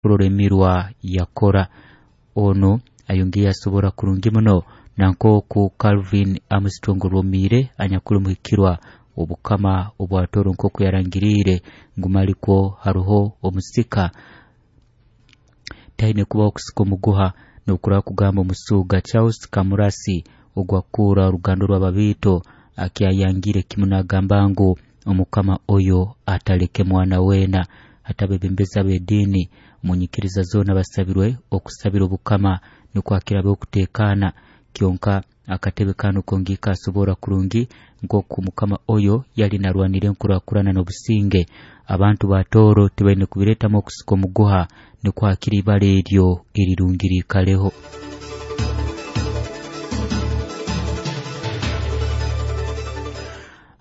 Kurora emirwa yakora ono ayongeye asobora kurungi muno nankoku Calvin Armstrong Rwomiire anyakuli muhikirwa obukama obwatoro nkoku yarangiriire ngu malikwo haruho omusika taine kubaho kusika omuguha n'okuraba kugamba omusuuga Charles Kamurasi ogwakura oruganda rw'ababiito akyayangire kimu nagamba ngu omukama oyo ataleke mwana weena. Hati abebembezi ab'ediini munyikiriza zoona basabirwe okusabira obukama nukwo akirabe okuteekaana kyonka akatebe kanu kongiika asobora kurungi nk'oku mukama oyo yali narwanira enkurakurana n'obusinge. Abantu ba Tooro tibaine kubireetamu okusika omuguha nukwo hakiri ibara eryo erirungi riikaleho.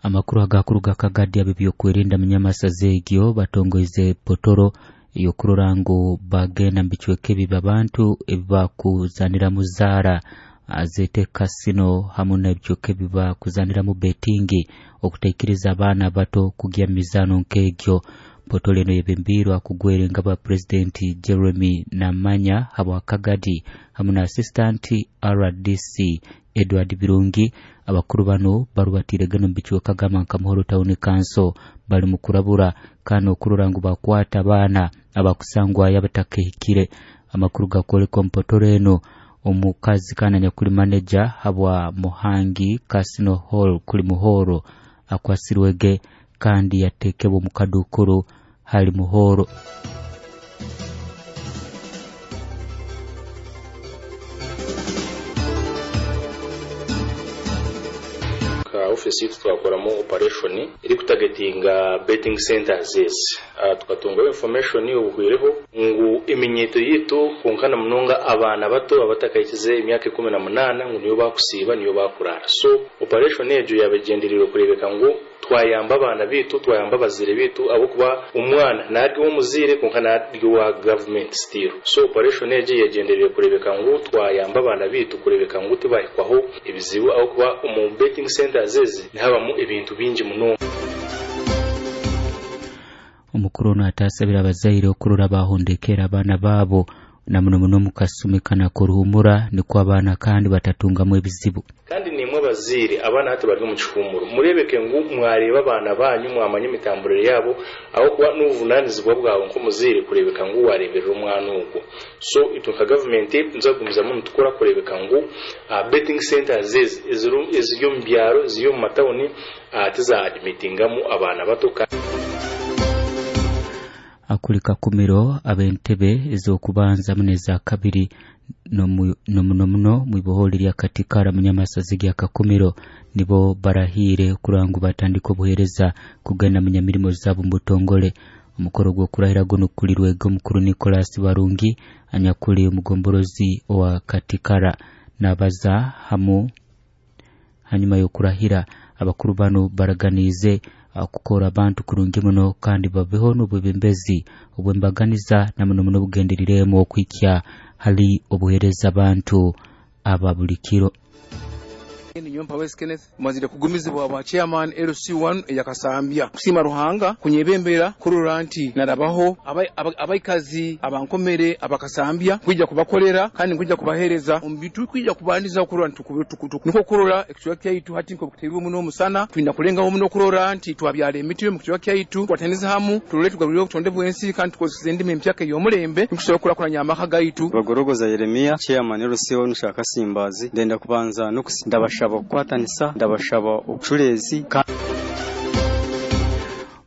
Amakuru agakuruga Kagadi ab'ebyokwerinda munyamasaza egyo batongoize potoro eyokurora ngu bagenda mu bicweka ebi abantu ebibakuzaniramu zaara zete kasino hamu n'ebicweka ebibakuzaniramu betingi okutaikiriza abaana abato kugya mu mizaano nk'egyo. Potoro eno yebembiirwe akugwera engabo ya Pulezidenti Jeremy Namanya habwa Kagadi hamu na assistant RDC Edward Birungi. Abakuru bano barubatiiregana omu bicweka gamba nka Muhoro Town Council bali mu kurabura kandi okurora ngu bakwata abaana abakusangwayo abatakahikire. Amakuru gakwoleka omu potoro eno omukazi kandi anyakuli maneja habwa Muhangi Casino Hall kuli Muhoro akwasirwege kandi yatekebwa omu kadukuru hali Muhoro. Ka office yitu twakoramu operation iri kutagetinga betting centers ezi. Tukatungaho information obuhwireho ngu eminyeto yitu kunkana munonga abaana bato abatakahikize emyaka 18 ngu niyo bakusiiba niyo bakurara. So operation egyo yabagendererwe kurebeka ngu twayamba abaana bitu, twayamba abazire bitu, ahabwokuba omwana naryo omuzire konka naryo wa government still. So operation egyo yagendererwe kurebeka ngu twayamba abaana bitu kurebeka ngu tibahikwaho ebizibu, ahabwokuba omu betting centers ezi nihabamu ebintu bingi munonga. Omukuru ono atasabira abazaire okurora bahondekera abaana baabo na muno muno mu kasumi kana k'oruhumura nikwo abaana kandi batatungamu ebizibu. Kandi nimwe abazaire abaana hati bari omu kihumuro murebeke ngu mwareba abaana banyu mwamanya emitamburire yabo, ahabwokuba n'obuvunanizibwa bwawe nk'omuzaire kurebeka ngu wareberera omwana ogwo. So itwe nka gavumenti nituzagumizamu nitukora kurebeka ngu betting centers ezi eziri omu byaro eziri omu matawuni tizaadimitingamu abaana bato. Akuli Kakumiro ab'entebe ez'okubanza muno eza kabiri nomuno muno mwiboholi lya Katikara munyamasazi gya Kakumiro nibo barahiire kurora ngu batandika obuheereza kugenda munyamirimo zaabo mu butongole. Omukoro gw'okurahira guno gukulirwege omukuru Nicholas Barungi anyakuli omugomborozi owa Katikara nabaza hamu hanyuma y'okurahira. Abakuru bano baraganiize kukora abantu kurungi muno kandi babeho n'obwebembezi obwembaganiza na muno muno bugenderiremu okuhikya hali obuheereza abantu aba buli kiro. Ninyompa West Kenneth mazire kugumizibwa bwa chairman LC1 eyakasambya kusiima Ruhanga kunyebembera kurora nti narabaho abaikazi abankomere abakasambya kwija kubakolera kandi kwija kubahereza omubitu kwija kubandiza kurora nti niko kurora ekicweka kyaitu hati nko kuteirwe muno omusana twina kulengaho muno kurora nti twabyala emiti mu kicweka kyaitu twataniza hamu turole tugarurire obutonde bw'ensi kandi tukozesa endimi empyaka ey'omulembe nikusobola kukurakuranya amaka gaitu. Bagorogoza Yeremia chairman LC1 Shaka Simbazi ndenda kubanza ndabashaba okukwatanisa ndabashaba obucureezi.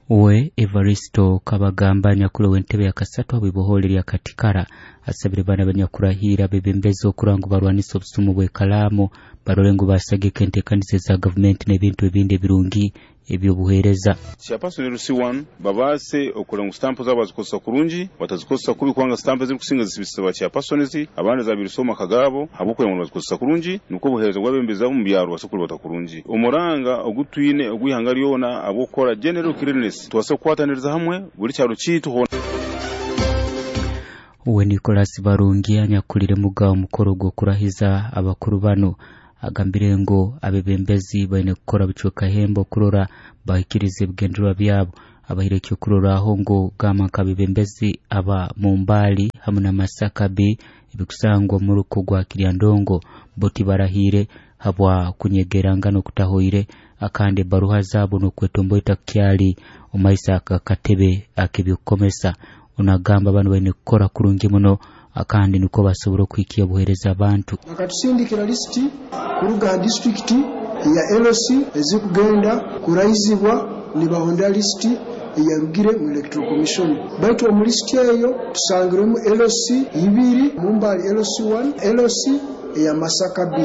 We Evaristo Kabagamba nyakulu w'entebe ya kasatu abwiboholi lya Katikara asabire bana banyakurahiira bebembezi okurora ngu barwanisa obusumu bw'ekalaamu barole ngu basagika enteekaniza za gavumenti n'ebintu ebindi ebirungi ebyobuheereza. Chairperson LC1 babaase okurora ngu stampu zaabo bazikozesa kurungi batazikozesa kubi kubanga stampu ezirikusinga zisibisa ba chairpersons abandi zabirisa omu maka gaabo ahabw'okurora ngu bazikozesa kurungi nikwo obuheereza bw'abebembezi abo omu byaro basobole kurubata kurungi. Omuranga ogutwine ogw'ihanga ryona ahabw'okukora general cleanliness tubaase kukwataniriza hamwe buri kyaro kyaitu hoona. We Nicholas Barungi anyakulire muga omukoro gw'okurahiza abakuru bano agambire ngu abebembezi baine kukora bucweka hembo okurora bahikiriza ebigendererwa byabo. Abaire ekyokurorraho ngu gamba nk'abebembezi aba Mumbali hamu na Masaka B ebikusangwa omu muruko gwa Kiryandongo bo tibarahiire habwa kunyegerangana okutahoire, akandi ebaruha zaabo n'okwetomboita kukyali omu maiso akakatebe ak'ebyokukomesa. Onagamba banu baine kukora kurungi muno akandi nukwo basobora okuhikya obuheereza abantu. Bakatusindikira lisiti kuruga ha disitulikiti eya LC ezikugenda kuraizibwa nibahondera lisiti eyarugire mu Electoral Commission. Baitu omu lisiti eyo tusangirwemu LC 2, Mumbali LC1, LC eya Masaka B.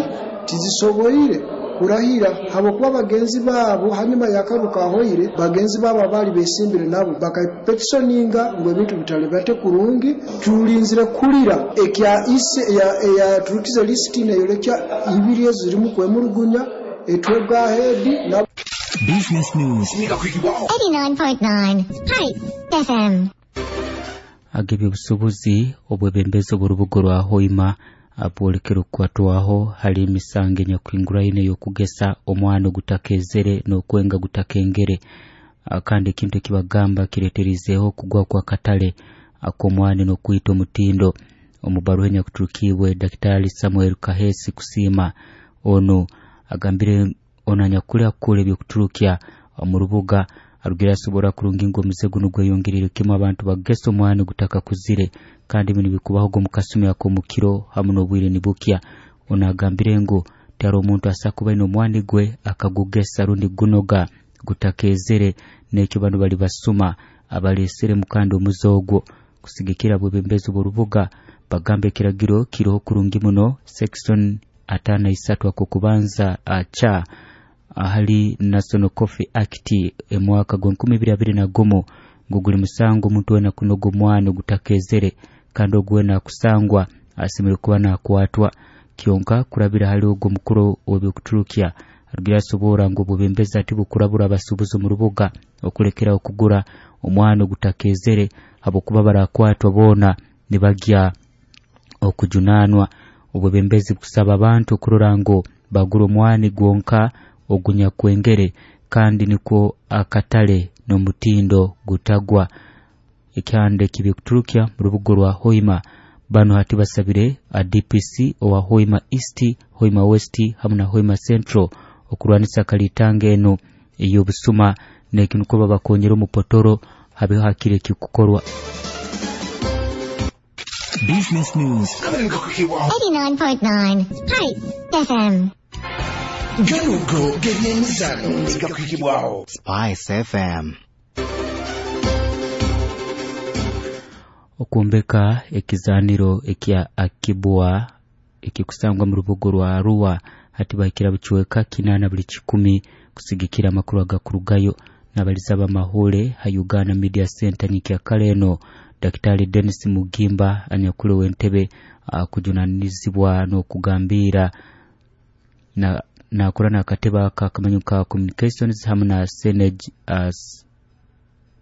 Tizisoboire kurahira habwokuba bagenzi baabo hanyuma y'akaruuru kahoire, bagenzi baabo abaali besimbire nabo bakapetisoninga ngu ebintu bitalibate kurungi. Tulinzire kuhurira ekya ise eyaturukize lisiti neyolekya ibiri ezo zirimu kwemurugunya etwega head na Business News 89.9 Spice FM. Ag'ebyobusuubuzi obwebembezi obw'orubuga rwa Hoima abwolekere okukwatwaho hali emisango enyakuhinguraine ey'okugesa omwana ogutakezere n'okwenga gutakengere, kandi ekintu ekibagamba kireeterizeeho okugwa kw'akatale ak'omwani n'okwita omutindo. Omu baruha enyakuturukiibwe Daktari Samuel Kahesi Kusiima, onu agambire ono anyakuli akukura ebyokuturukya omu rubuga arugire asobora kurungi ngu omuze guno gweyongerire kimu abantu bagesa omwani gutakakuzire, kandi binu bikubaho omu kasumi ak'omukiro hamu n'obwire nibukya. Ono agambire ngu tihariho omuntu asa kuba aine omwani gwe akagugesa rundi gunoga gutakezere, n'ekyo banu bali basuma abaleeseremu kandi omuze ogwo. Kusigikira bwebembezi bw'orubuga bagamba ekiragiro kiroho kurungi muno section 53 akokubanza aca ahali National Coffee Act emwaka gwa 2021 ngu guli musango omuntu wena kunoga omwana ogutakezere, kandi ogwo wena akusangwa asemereire kuba nakwatwa. Kyonka kurabira hali ogwo mukuru w'ebyokuturukya arugira asobora ngu obwebembezi ati bukurabura abasuubuzi omu rubuga okulekeraho okugura omwana ogutakezere habwokuba barakwatwa boona nibagya okujunanwa. Obwebembezi bukusaba abantu okurora ngu bagura omwani gwonka ogunyakwengere, kandi nikwo akatale n'omutindo gutagwa. Ekyanda ekibikuturukya mu rubuga rwa Hoima banu hati basabire a DPC owa Hoima East, Hoima West hamu na Hoima Central okurwanisa kalitanga eno ey'obusuma n'eki nukwo babakonyera omupotoro habeho hakiri ekikukorwa. Business News 89.9 Spice FM. Ganugo g'ebyemizano negakuhibwaho Spice FM. Okwombeka ekizaniro ekya Akibwa ekikusangwa mu rubuga rwa Arua hati bahikira bucweka 8 buli 10 kusigikira amakuru agakurugayo. N'abaliza b'amahule ha Uganda Media Center nyikyakara eno Daktari Dennis Mugimba anyakuli w'entebe akujunanizibwa n'okugambira nakora n'akatebe aka akamanyi ka Communications hamu na Senate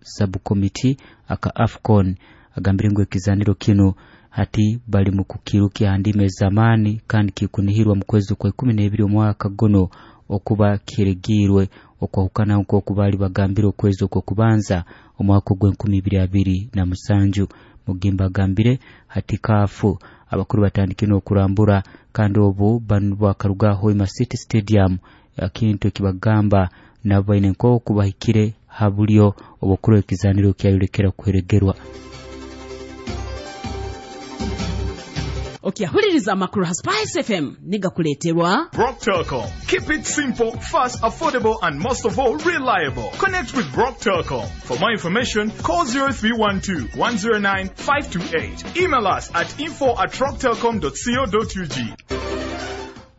Subcommittee aka AFCON agambire ngu ekizaniro kino hati bali mu kukirukia ha ndimi ez'amaani kandi kikunihirwa mu kwezi kwa 12 omwaka guno okuba kiregirwe okwahukana nk'oku baali bagambire okwezi okw'okubanza omwaka ogw'e2027. Mugimba agambire hati kaafu abakuru batandikire n'okurambura, kandi obu banu bakaruga Hoima City Stadium ekintu ekibagamba nabo baine nk'oku bahikire ha bulyo obwokurora ekizaniro kyayolekera kuheregerwa. Okyahuliriza amakuru ha Spice FM nigakuleeterwa Brock Telecom. Keep it simple, fast, affordable, and most of all, reliable. Connect with Brock Telecom. For more information, call 0312 109 528. Email us at info@rocktelecom.co.ug.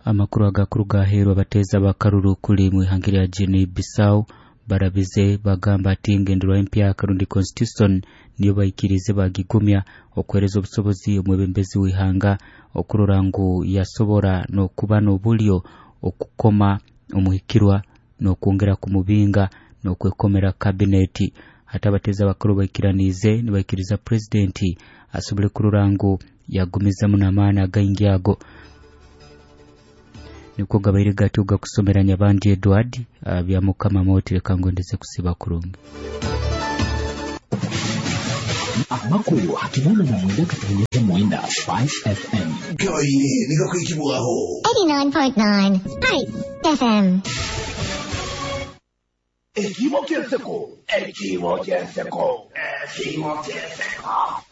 Amakuru agakuru gaheerwa abateeza bakaruru kuli mu ihanga lya Guinea Bissau barabize bagamba ati engenderwa empyaka rundi constitution niyo baikirize bagigumya okuhereza obusobozi omwebembezi w'ihanga okurora ngu yasobora n'okuba n'obulyo okukoma omuhikirwa n'okwongera kumubinga n'okwekomera kabineti. Hati abateeza abakuru baikiraniize nibaikiriza purezidenti asobole kurora ngu yagumizamu n'amaani againgi ago. Niko gabaire gatyo gakusomera Nyabandi Edward bya Mukama moti reka ngondeze kusiba kurungi. Amakuru 89.9 Spice FM. Gabaire nigakwikibwaho. 89.9 Spice FM. Ekibo ky'enseko, ekibo ky'enseko, ekibo ky'enseko.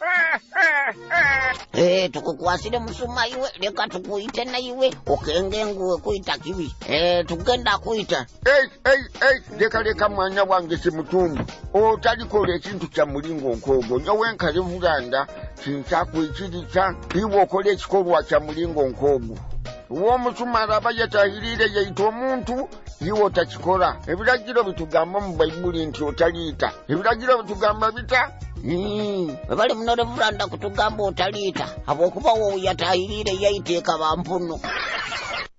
Eh, tukukwasire musuma iwe, leka tukuyite naiwe okenge nguwe kuyita kibi. Eh, tugenda kuyita. Ei, ei, ei, leka leka mwana wange simutumbu otalikola ekintu kya mulingo nk'ogwo. Nyowe nkalevulanda kinsakwikiriza iwe okola ekikolwa kya mulingo nk'ogwo. W'omusumala aba yatahiriire yaita omuntu, iwe otakikola. Ebiragiro bitugamba mu Bayibuli nti otaliita. Ebiragiro bitugamba bita. Bwe bali muno revulanda kutugamba otaliita, habwokuba wowe yatahiriire yaiteeka bampunu.